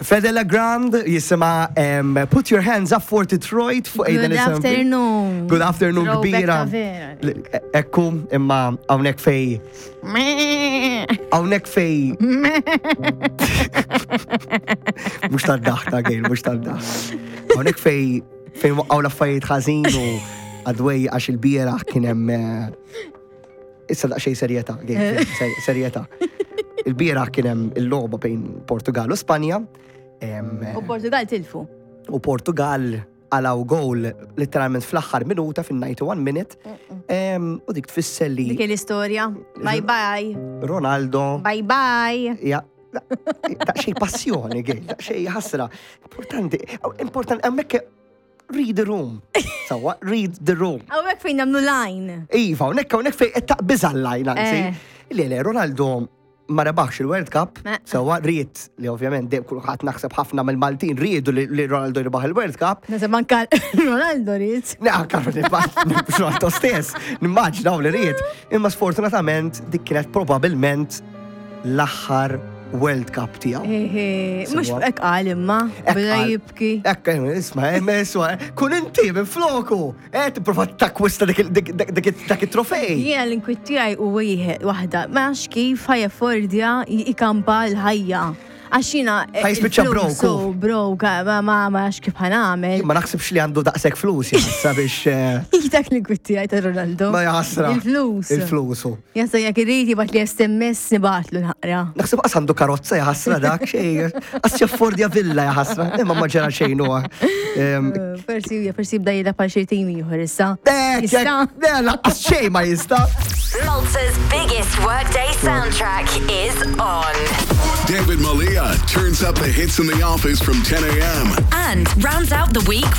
Fede Legrand jisima Put Your Hands Up for Detroit fuq Good afternoon. Good afternoon kbira. Ekku, imma hawnhekk fej. Hawnhekk fej. Mhux tad-daħ ta' gejl, mhux tad-daħ. Hawnhekk fej fejn waqqgħu l-affarijiet ħażin u għadwej għax il-bieraħ kien hemm eh, Issa daqsxejn serjetà, serjetà. Il-bieraħ kien hemm il-logħba bejn Portugal u Spanja. U Portugal tilfu. U Portugal għalaw goal letteralment fl-aħħar minuta fin-91 minute. U dik tfisser li. Dik l-istorja. Bye bye. Ronaldo. Bye bye. Ja, daqsxejn passjoni, għej, daqsxejn ħasra. Importanti, importanti, hemmhekk Read the room. Sawa, read the room. Hawnhekk fejn nagħmlu line. Iva, hawnhekk hawnhekk fejn qed taqbiż line anzi. Eh. Le le, Ronaldo ma rebaħx il-World Cup, sewa ried li ovvjament dejjem kulħadd naħseb ħafna mill-Maltin riedu li Ronaldo jirbaħ il-World Cup. Naħseb anka Ronaldo ried. Ne, anka Ronaldo stess, nimmaġnaw li ried. Imma sfortunatament dik kienet probabilment l-aħħar World Cup tiegħu. Mhux hekk qal imma, beda jibki. Hekk isma' isma' kun inti minn floku, eh tipprova takkwista dak it-trofej. Jiena l-inkwiet tiegħi u wieħed waħda, ma nafx kif ħajaffordja jikampa l-ħajja. Għax jiena. Eh, Ħajspiċċa broke. Broke, ma ma nafx kif ħanamel. Ma naħsibx li għandu daqshekk flus jassa biex. Eh, Dak l-inkwiet tiegħi ta' Ronaldo. Ma jaħasra. Il-flus. Il-flus. Jasa jekk irid jibgħat li SMS nibatlu naqra. Naħseb qas għandu karozza jaħasra dak xejn. Qas jaffordja villa jaħasra, imma ma ġara xejn huwa. Forsi forsi jibda jilgħab għal xi tim ieħor issa. Jista'. Le, lanqas xejn ma jista'. Malta's biggest workday soundtrack is on. David Malia turns up the hits in the office from 10 a.m. And rounds out the week